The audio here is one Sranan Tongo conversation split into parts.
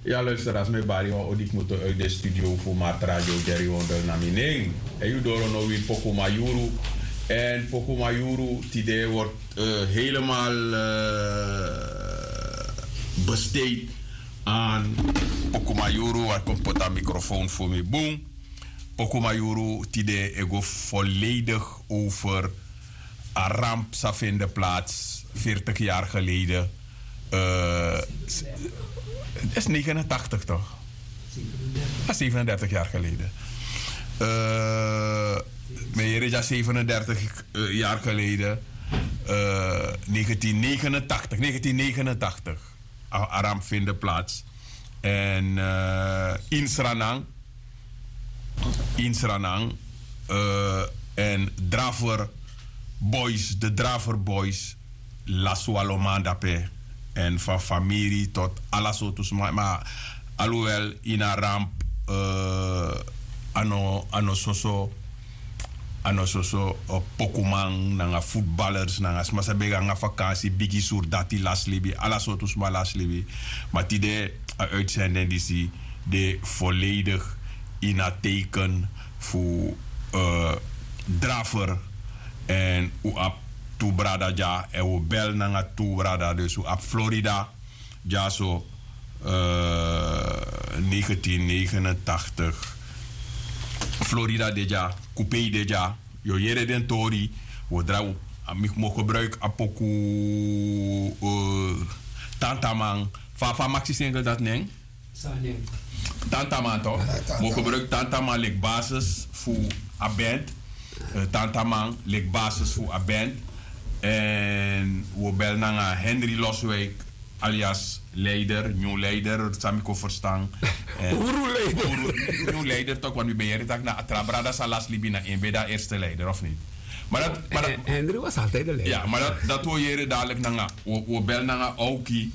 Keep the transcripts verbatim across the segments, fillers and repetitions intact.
Ya luister, als mi bari wan odi kmoto uit de studio fu Markt Radio Jerry Wondel na mi nen. En yu doro no win Pokumayuru. En Pokumayuru tide wordt eh, helemaal eh, besteed aan Pokumayuru. Waar komt pota microfoon voor mi boom? Pokumayuru tide ego volledig over a ramp sa vinden plaats veertig jaar geleden. Eh, het is negenentachtig toch? Ja, zevenendertig jaar geleden. Eh, meer is zevenendertig eh, jaar geleden. Eh, negentien negenentachtig, negentien negenentachtig. A, a ramp vinden plaats. En eh, in Sranan, in Sranan, eh, en Draver Boys, de Draver Boys, lasi wan lo man dape. En van famiri tot ala sortu sma. Ma alhoewel in a ramp eh, a no, a no soso, a no soso eh, pokuman nanga voetballers nanga sma sa ben go nanga vakansi, bigi surdati lasi libi, ala sortu sma lasi libi. Ma tide a uitzending disi de volledig in a teken fu eh, Draver. En un abi tu brada dya en un bel nanga tu brada, dus un abi Florida dyaso eh, negentien negenentachtig. Florida de dya, Kupei de dya. Yu o yere den tori. Wi o drai, mi, mi o gebruiki a poku eh, Tantaman. Fa, fa a maksi single dati nen? Tantaman tok. Mi o gebruiki Tantaman leki basis fu a band. Eh, Tantaman leki basis fu a band. En wi o bel nanga Henry Loswijk, alias Leider, New Leider, san mi kon verstan. Eh, Uru Leider. Uru, New Leider tok, want wi ben yere taki na a tra brada san lasi libi na en ben de a eerste leider, of niet? Maar dat, maar dat, Henry was altijd de leider. Ja, maar dat, dat wi o yere dadelijk nanga, wi o, wi o bel nanga Aoki,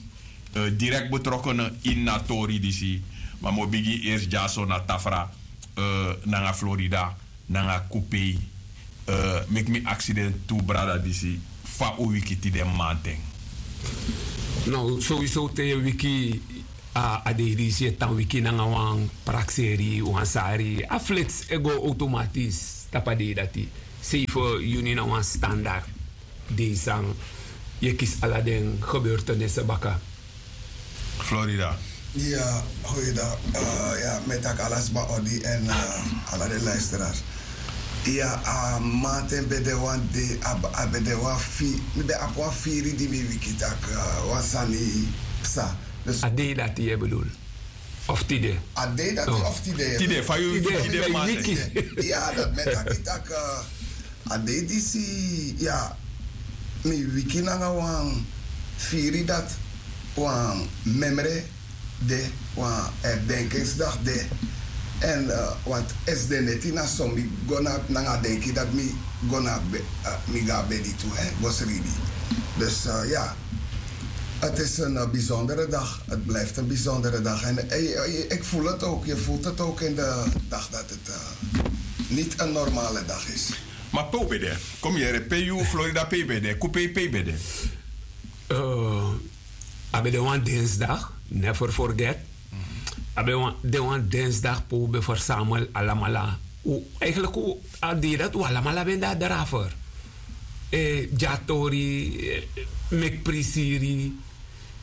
eh, direct betrokken in a tori disi. Ma mi o bigin eerst dyaso na Tafra, eh, nanga Florida, nanga Kupei. Eh, meki mi aksi den tu brada disi, fa un wiki tide mamanten? Nou, sowieso te yu wiki a, a dei disi e tan wiki nanga wan prakseri, wan sari, a flits e go automatisch tapu a dei dati. Seibi yuni na wan standard dei san yu e kisi ala den gebeurtenisi baka. Florida. Ya, goeiedag. Eh, ya, mi e taki ala sma odi en eh, ala den luisteraars. Ya, a mamanten ben de wan dei, a, a ben de wan fi, mi ben abi wan firi di mi wiki taki eh, wan sani psa. Dus a dei dati yu e bedoel? Of tide? A dei dati of tide? Tide, fa yu wiki tide mamanten? Ya, dati mi e taki taki eh, a dei disi, ya, mi wiki nanga wan firi dati, wan memre de, wan herdenkingsdag de. En eh, want esde neti na so mi go na, nanga a denki dati mi go na be-, eh, mi go na bedi tu, hè, go sribi. Dus eh, ya, het is een eh, bijzondere dag. Het blijft een bijzondere dag. En eh, je, je, ik voel het ook, je voelt het ook in de dag dat het eh, niet een normale dag is. Ma pe un ben de? Kon mi yere, pe yu, Florida, pe yu ben de? Kupei, pe yu ben de? Eh, a ben de wan dinsdag, never forget. A ben wan, de wan dinsdag pe un ben versamel alamala. Un, eigenlijk un, a dei dati un alamala ben de a Draver. Eh, dyatori, eh, meki prisiri.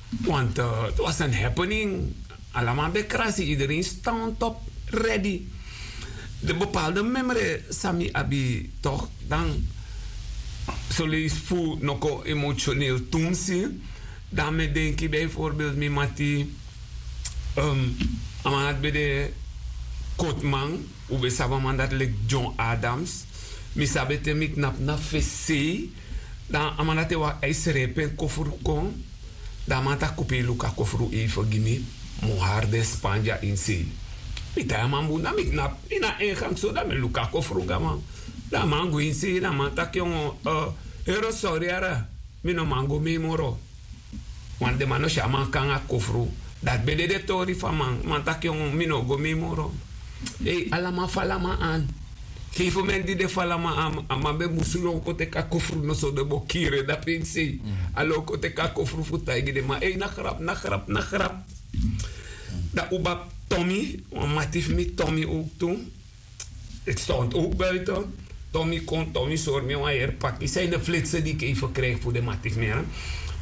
Want eh, het was een happening. Alamal ben krasi, iedereen stond op, ready. De bepaalde memre san mi abi toch, dan soleisi fu no kon emotioneel tu mi si. Dan mi e denki bijvoorbeeld mi mati, ehm, a man dati ben de kotman, un ben sabi a man dati leki John Adams. Mi sabi te mi knapu na fesi sei, dan a man dati e waka, a e srepi en kofru kon. Dan a man taki: Kupei, luku a kofru even gi mi, mi o hari den span dya ini sei. Mi tai a man bun, dan mi knapu, mi na en gang so, dan mi luku a kofru gi a man. Dan a man gwe ini sei, dan a man taki: Yongo, eh, heri, sori yara, mi no man go mei moro. Want den man no si a man kon nanga kofru. Dati ben de den tori fu a man. Man taki: Yongo, mi no go mei moro. Ei, ala man fala man an. Gegeven moment di den fala man an, a man ben musu lon kon teki a kofru, noso den bo kiri en dape ini sei. A lon kon teki a kofru fu taigi den man: Ei, na grap, na grap, na grap. Dan uba Tommy, wan mati fu mi Tommy ook tu. Ik stond ook buiten. Tommy kon, Tommy sori mi wan heri paki. Zijn de flitsen die ik even krijg voor de mati fu mi.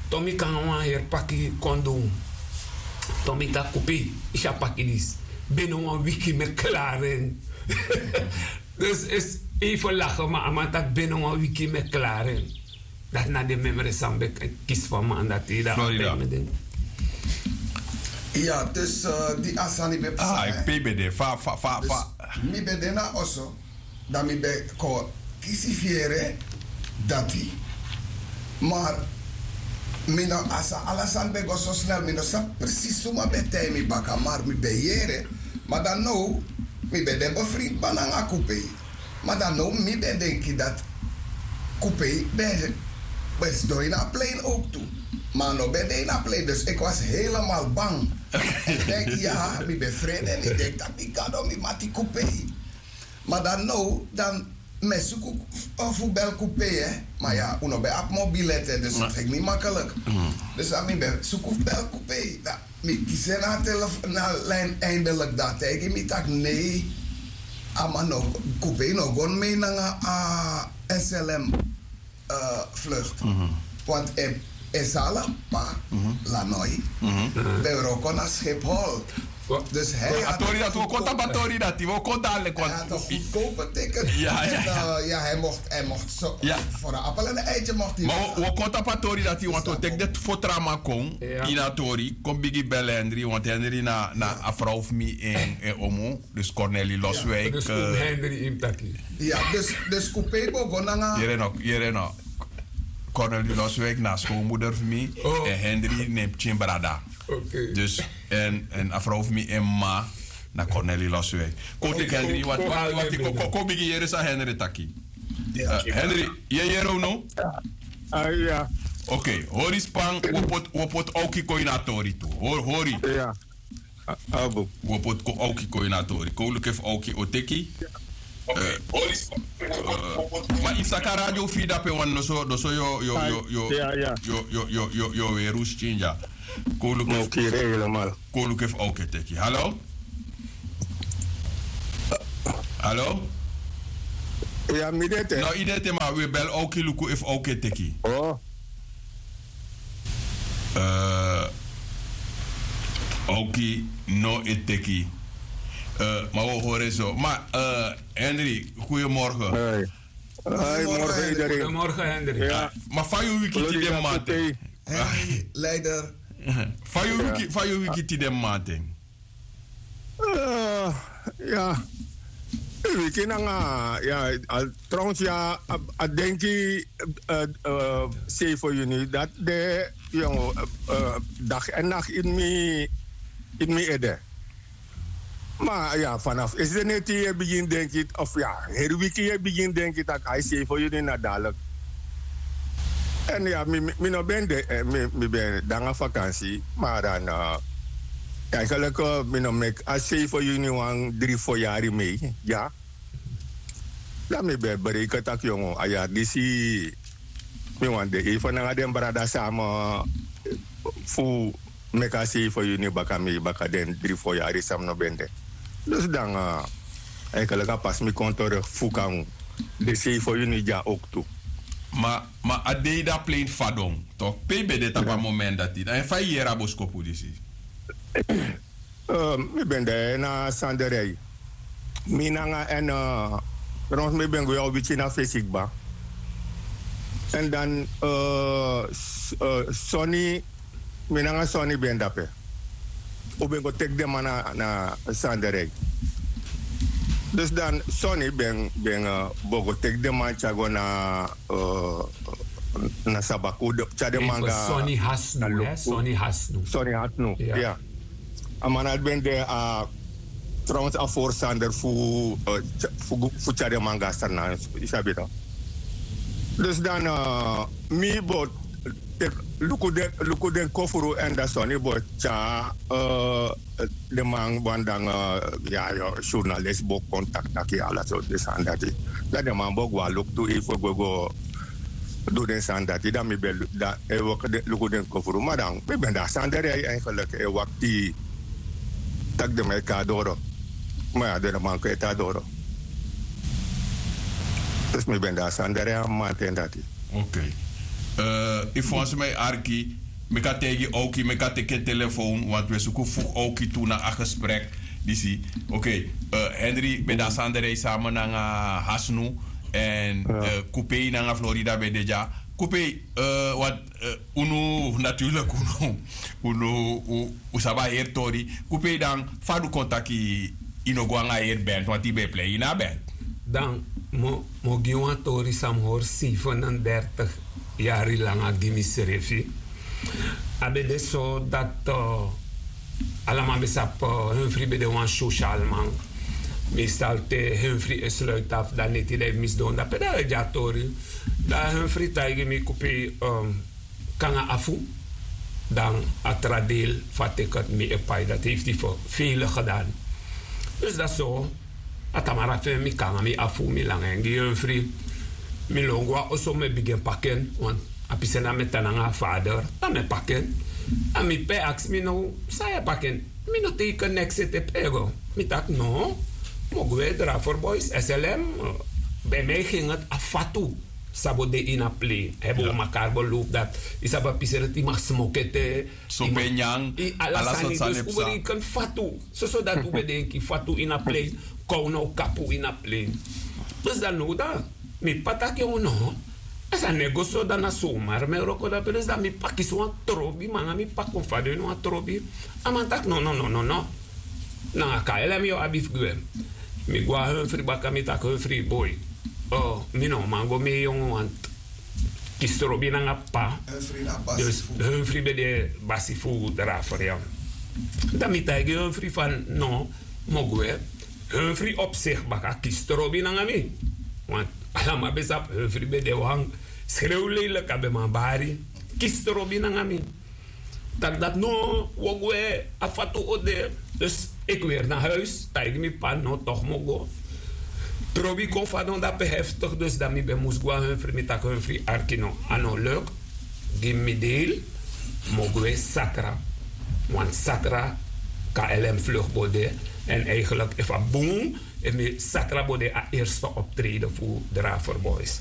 Tommy kan wan heri paki kon doen. Tommy taki Kupi, isi a paki disi. Binnen wan wiki mi klaren. Dus is even lachen, maar a man taki binnen wan wiki mi klaren. Dati na den memory san mi ben kisi fu a man dati. Dati a pei mi den. Ya, dus di a sani ben psa, a e pei ben de fa fa fa fa. Mi ben de na oso, dan mi ben kon kisi fiere dati. Mar mi no a sa ala sani ben go so snel, mi no sabi presis suma ben tai mi baka, mar mi ben yere. Ma dan now mi ben de befrind bana nanga Kupei. Ma dan now mi ben denki dati Kupei ben ben sidon ini a plein ook tu. Ma a no ben de ini a plein, dus ik was helemaal bang. Ik denk ya, mi ben frede en ik denk dati mi gado, mi mati Kupei. Ma dan now dan mi e suku fu bel Kupei. Ma ya, un no ben abi mobilet, dus dati ging niet makkelijk. Dus dan mi ben suku fu bel Kupei. Mi kisi en na a telefon na a lijn eindelijk, dan a taigi mi taki nei, a man no, Kupei no go mei nanga a S L M vlucht. Want en Salapa, Lanoi, ben wroko na Schiphol. Dus hij had a tori dati, wi o kon tapu a tori dati, wi o kon dadelijk, want hij had een goedkope ticket. Ja, ja, ja. En uh, ja, hij mocht, hij mocht zo, voor een appel en een eitje mocht hij. Maar we, we kon tapu a tori dati, want we teki den fotraman kon ini a tori, kon bigin bel Henry, want Henry na, na a vrouw fu mi en, en omu, dus Cornelie Loswijk. Dus oom Henry in taki. Ja, dus, dus Kupei bo go nanga. Yere no, yere no. Cornelie Loswijk na schoonmoeder fu mi, en Henry na en pikin brada. Dus en, en a vrouw fu mi en mama na Cornelie Loswijk. Kon teki Henry, wati, wati, wati, kon, kon, kon bigin yere san Henry taki. Henry, yu e yere unu? Ok, hori span, wi o poti, wi o poti Aoki kon ini a tori tu. Hori, hori. Wi o poti kon Aoki kon ini a tori. Kon luku efu Aoki o teki. Ma yu saka radio fu yu dape wan noso, noso yu o, yu o, yu o, yu o, yu o, yu o, yu o weri un skin dya. Kon luku efu, kon luku efu Aoki e teki. Hallo? Hallo? Ya, mi de ete. No, yu de ete, ma wi e bel Aoki luku efu Aoki e teki. Eh, Aoki no e teki. Eh, ma wi o hori en so. Ma, eh, Henry, goedemorgen. Hoi. Hoi, morgen iedereen. Goedemorgen, Henry. Ya. Ma fa yu wiki tide mamanten? Henry, leider. Fa yu wiki, fa yu wiki tide mamanten? Eh, ya. Wiki nanga, ya, al, trouwens, ya, a, a denki, eh, eh, zeven juni, dati de, yu no, eh, eh, dag en nacht in mi, in mi ede. Ma ya, vanaf isi neti yu e bigin denki, of ya, heri wiki yu e bigin denki taki ai, zeven juni na dadelijk. En ya, mi, mi, mi no ben de, eh, mi, mi ben de nanga vakansi, ma dan, eh, eigenlijk, eh, mi no meki a zeven juni wan dri fo yari mei, ya. Dan mi ben e bereken taki, yu no, a yari disi mi wani de even nanga den brada sama, eh, fu meki a zeven juni baka mei, baka den dri fo yari san mi no ben de. Dus dan, eh, eigenlijk a pasi mi kon terug fu kan de zeven juni dya ook tu. Ma, ma a dei di a plein fadon, toch? Pe yu ben de tapu a moment dati? Dan fa yu yere a boskopu disi? Eh, mi ben de na Sanderij. Mi nanga en, eh, trouwens mi ben gwe wan wiki na fesi kba. En dan, eh, s-, eh, Sonny, mi nanga Sonny ben de dape. Un ben go teki den man na, na Sanderij. Dus dan Sonny ben, ben, eh, bo go teki den man tyari go na, eh, na Sabaku, tyari den man go na Sonny Hasnu, hè? Sonny Hasnu. Sonny Hasnu, ya. A man dati ben de, a, trouwens a voorstander fu, eh, tya-, fu, fu tyari den man go na Sranan, yu sabi no. Dus dan, eh, mi bo teki, luku den, luku den kofru en dan Sonny bo tyari, eh, den man wan dan, eh, ya, ya, journalist bo kon taki, taki ala sortu sani dati. Dan den man bo gwe luku tu efu go, go du den sani dati, dan mi ben lu-, dan e waka den, luku den kofru. Ma dan mi ben de na Sanderij eigenlijk e wakti Taki den man e kon na doro. Ma ya den no man kon ete na doro. Dus mi ben de na sani dere a mamanten dati. Ok. Ifu wan sma e arki, meki a taigi owki, meki a teki en telefown, want wi e suku fu owki tu na a gesprek disi. Ok. Henry ben de na sani dere samen nanga hasnu, èn kupei nanga florida ben de dya. Kupei, want unu natuurlik unu unu un sabi a heri tori. Kupei dan fa a du kon taki yu no go nanga a heri band wanti yu ben e plei ini a band. Dan mi o gi wan tori san mi hori seifenendertig yari langa gi misrefi. A ben de so dati ala man ben sabi. Henfri ben de wan sosial man. Meestal te henfri e sluiti afu dan neti dan e misdon dan pe dan e gi a tori. Dan henfri taigi mi kupei kon nanga afu. Dan a tra deil fu a tiket mi e pai dati hefti fu feilik gedan. Dus dati so a tamara fu en mi kon nanga mi afu mi langa en gi henfri. Mi lon go na oso mi e bigin paki en. A pisi en dan mi e tan nanga a fader dan mi e paki en. Dan mi p'pa e aksi mi now san yu e paki en? Mi no teiken neks ete p'pa e go. Mi taki no. Mi o gwe draferboys slm ben mi e genget a fatu. San bo de ini a plein hebi un makari bo lowpu dati. Yu sabi a pisi en dati yu mag smoki ete. Sope nyan. Ala sani dus un bereken fatu. Soso dati un ben denki fatu ini a plein. Kon un no kapu ini a plein. Dus dan now dan mi p'pa taki unu no. A sani no e go so dan na somar mi e wroko dape dus dan mi p'pa kisi wan trobi ma nanga mi p'pa kon fadon ini wan trobi. A man taki no no no no no. Nanga kaelem yu o abi fu gwe. Mi go na henfri baka mi taki henfri boi. Mi no man go mi e yongu wantu. Kisi trobi nanga p'pa. Dus henfri ben de basi fu drafer ya. Dan mi taigi henfri fan no. Mi o gwe. Henfri opsik baka kisi trobi nanga mi. Wantu ala man ben sabi henfri ben de wan skrew leilik a ben man bari. Kisi trobi nanga mi. Tak' dati no wi o gwe. A fatu o de. Dus eki weri na huis taigi mi p'pa no tok' mi o go. Trobi kon fadon dape heftik dus dan mi ben mus go na henfri mi taki henfri arki no a no luk. Gi mi mi deil. Mi o gwe satra. Wan satra. Klm fluk bo de. Èn eigenlik efu a bun efu mi satra bo de a erste optreden fu drafer boys.